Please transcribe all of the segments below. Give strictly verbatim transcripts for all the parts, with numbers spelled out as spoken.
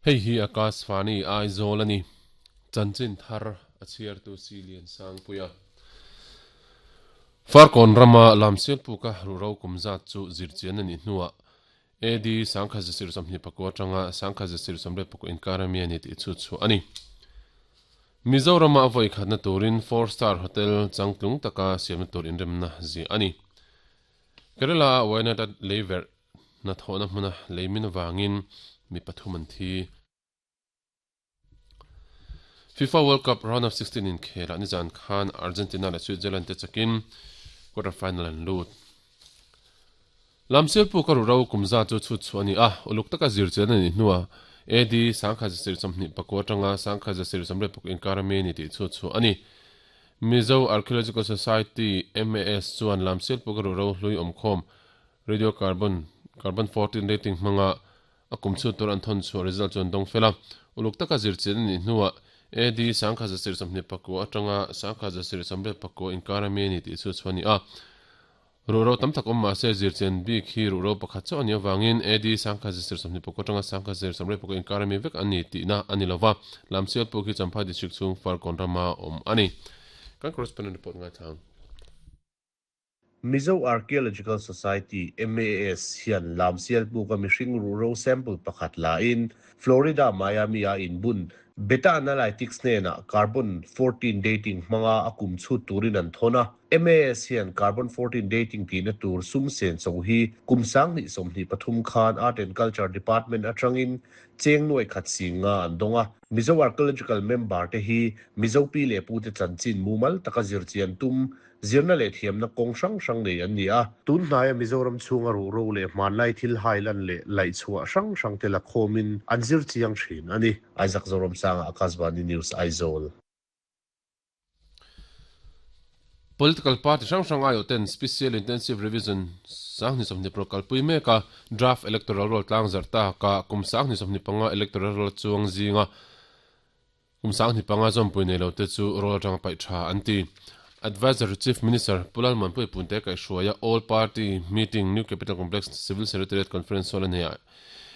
Hei hi Akashvani Aizawl a ni. Chanchin thar a chhiartu Silian Sangpuia. Farkawn rama Lamsial puka ruhro kum zat chu zirchian a nih hnuah A D sangkhat zasir sawmhnih pakua atanga sangkhat zasir sawmriat pakua inkar ami a ni tih chu chhuah a ni. Mizorama a vawi khatna turin four star hotel changtlung taka siamna tur inremna ziah a ni. Kerala a Wayanad leiverh hnathawhna hmuna leimin avangin mi pathum an thi. FIFA World Cup round of sixteen inkhelah nizan khan Argentina leh Switzerland te chakin quarter final an lut. Lamsial puka ruhro kum za chu chhut chhuah a ni a, uluk taka zirchian a nih hnuah A D sangkhat zasir sawmhnih pakua atanga sangkhat zasir sawmriat pakua inkar ami a ni tih chhut chhuah a ni. Mizo Archaeological Society, M A S, chuan Lamsial puka ruhro hlui awmkhawm radiocarbon, carbon fourteen dating hmanga a kum chhut tur an thawn chhuah result chu an dawng fel a. Uluk taka zirchian a nih hnuah A D sangkhat zasir sawmhnih pakua atanga sangkhat zasir sawmriat pakua inkar ami a ni tih chhut chhuah a ni a. Ruhro tam tak awm mahse zirchian bik hi ruhro pakhat chauh a nih avangin A D sangkhat zasir sawmhnih pakua atanga sangkhat zasir sawmriat pakua inkar ami vek a ni tihna a ni lova. Lamsial puk hi Champhai District chhung Farkawn rama awm a ni. Kan correspondent report ngaithlang. Mizo Archaeological Society, M A S, hian Lamsial puka mihring ruhro sample pakhat lain Florida Miami a inbun Beta Analytics hnenah carbon fourteen dating hmanga a kum chhut turin an thawn a. M A S hian carbon fourteen dating tihna tur sum sen so hi kum sang hnih sawmhnih pathum khan Art and Culture Department atangin cheng nuai khat singa an dawng a. Mizo Archaeological member te hi Mizo pi leh pu te chanchin mumal taka zirchian tum zirna leh thiamna kawng hrang hrang nei an ni a. Tun hnaia Mizoram chhunga ruhro leh hmanlai thil hailan leh laih chhuah hrang hrang te la khawmin an zirchiang thin a ni. Isaac Zoram Sanga, Akashvani News, Aizawl. Political party hrang hrang aiawh ten Special Intensive Revision sang hnih sawmhnih paruk kalpui mek a, draft electoral roll tlang zarh ta ka kum sang hnih sawmhnih panga electoral roll chuang zinga kum sang hnih panga zawmpui nei lo te chu roll atanga paih tha an ti. Advisor Chief Minister Pu Lalmuanpui Punte kaihhruaia All Party Meeting New Capital Complex Civil Secretariat Conference Hall a nei a,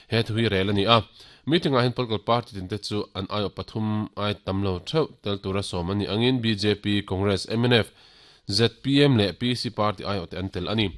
he thu hi rel a ni a. Meeting ah hian political party tin te chu an aiawh pathum ai tam lo theuh tel tura sawm a ni angin B J P, Congress, M N F, Z P M leh P C party aiawh te an tel a ni.